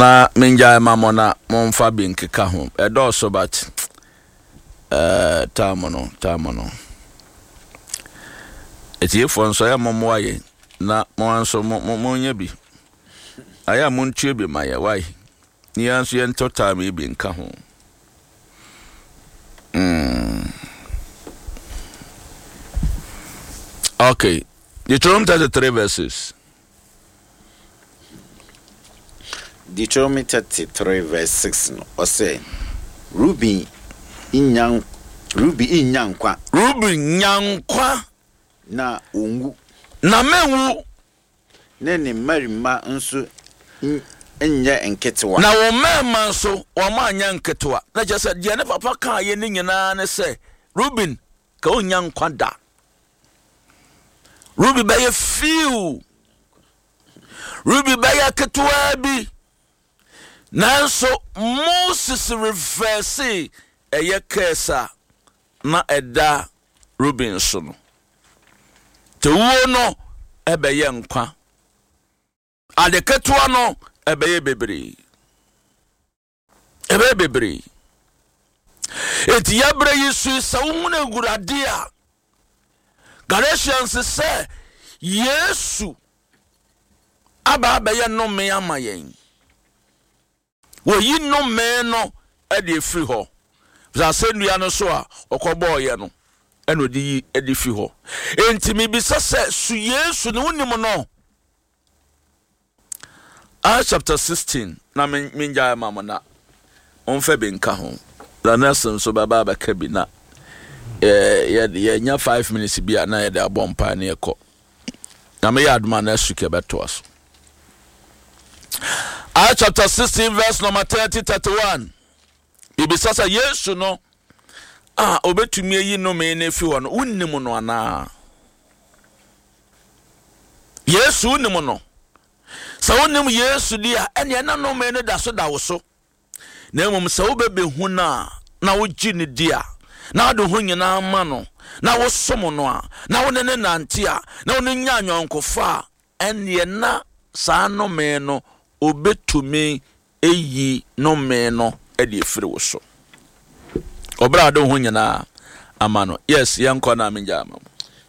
Na mengyae ma mo na momfa bi nkeka ho. Ɛdɔɔso but eh, time no, time no. Atiefoɔ nso ɛyɛ mommoa yɛn na mo nso mo mo monyɛ bi. Ayɛ a montue bi ma yɛ wai. Ne yɛn nso yɛntɔ time yi bi nka ho. Mm. Okay. Deuteronomy 33 verses. Deuteronomy 33 verse 6 no, ɔsɛ, Ruben nnya Ruben nnya nkwa. Ruben nya nkwa. Na onwu. Na menwu. Ne ne mmarima nso nyɛ nketewa. Na wɔn mmarima nso, wɔanyɛ nketewa. Na kyerɛ sɛ, deɛ ne papa kaeɛ no nyinaa ne sɛ, Ruben, ka ɔnnya nkwa da. Ruben bɛyɛ few. Ruben bɛyɛ ketewaa bi. Nanso Moses reverse ɛyɛ curse a na ɛda Ruben so no. Tewuo no ɛbɛyɛ nkwa. Ade ketewa no ɛbɛyɛ bebree. Ɛbɛyɛ bebree. Enti yɛbrɛ yi so yi sɛ wohunu Awurade a, Galatians sɛ Yesu aba abɛyɛ nnome ama yɛn. Wɔyi nnome no de afiri hɔ. Sɛ asɛnnua no so a ɔkɔbɔɔyɛ no ɛna ɔde yi de fi hɔ. Enti mebisa sɛ, so Yesu ne wonim no? Acts chapter 16 na mengyae ma mo na momfa bi nka ho. Na nurse nso bɛba abɛka bi na yɛnya 5 minutes bi a na yɛde abɔ mpae ne yɛkɔ. Na meyɛ adoma next week yɛbɛtoa so. Acts chapter 16 verse number 30 31. Bibisa sɛ Yesu no a obetumi ayi nnome no afi hɔ no, wonnim no anaa? Yesu wonim no. Sɛ wonim Yesu di a, ɛnneɛ na nnome no da so da wo so. Na mmom sɛ wobɛbɛhu no a, na wogye no di a, na wode ho nyinaa ma no, na wosom no a, na wo ne ne nante a, na wo ne nya anyɔnkofa a, ɛnneɛ na saa nnome no obɛtumi ayi nnome no de afiri wo so. Ɔbrɛ a wode wo ho nyinaa ama no. Yes, yɛnkɔ na mengya ama mo.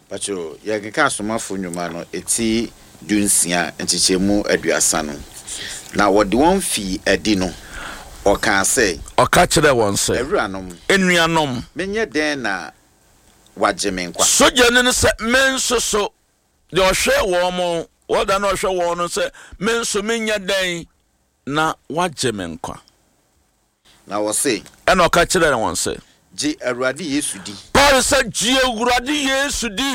Pacho, yɛkenkan Asomafo Nnwuma no eti dunsia nkyekyɛmu aduasa no. Na wɔde wɔn fii adi no, ɔkaa sɛ. Ɔka kyerɛɛ wɔn sɛ. Awuranom. Anuanom. Menyɛ dɛn na wɔagye me nkwa? Sogyani no sɛ, Me nso so. Deɛ ɔhwɛ wɔn, wɔda na ɔhwɛ wɔn no sɛ, Me nso menyɛ dɛn na wɔagye me nkwa? Na wɔse. Ɛnna ɔka kyerɛɛ wɔn sɛ. Gye Awurade Yesu di. Paul sɛ, Gye Awurade Yesu di.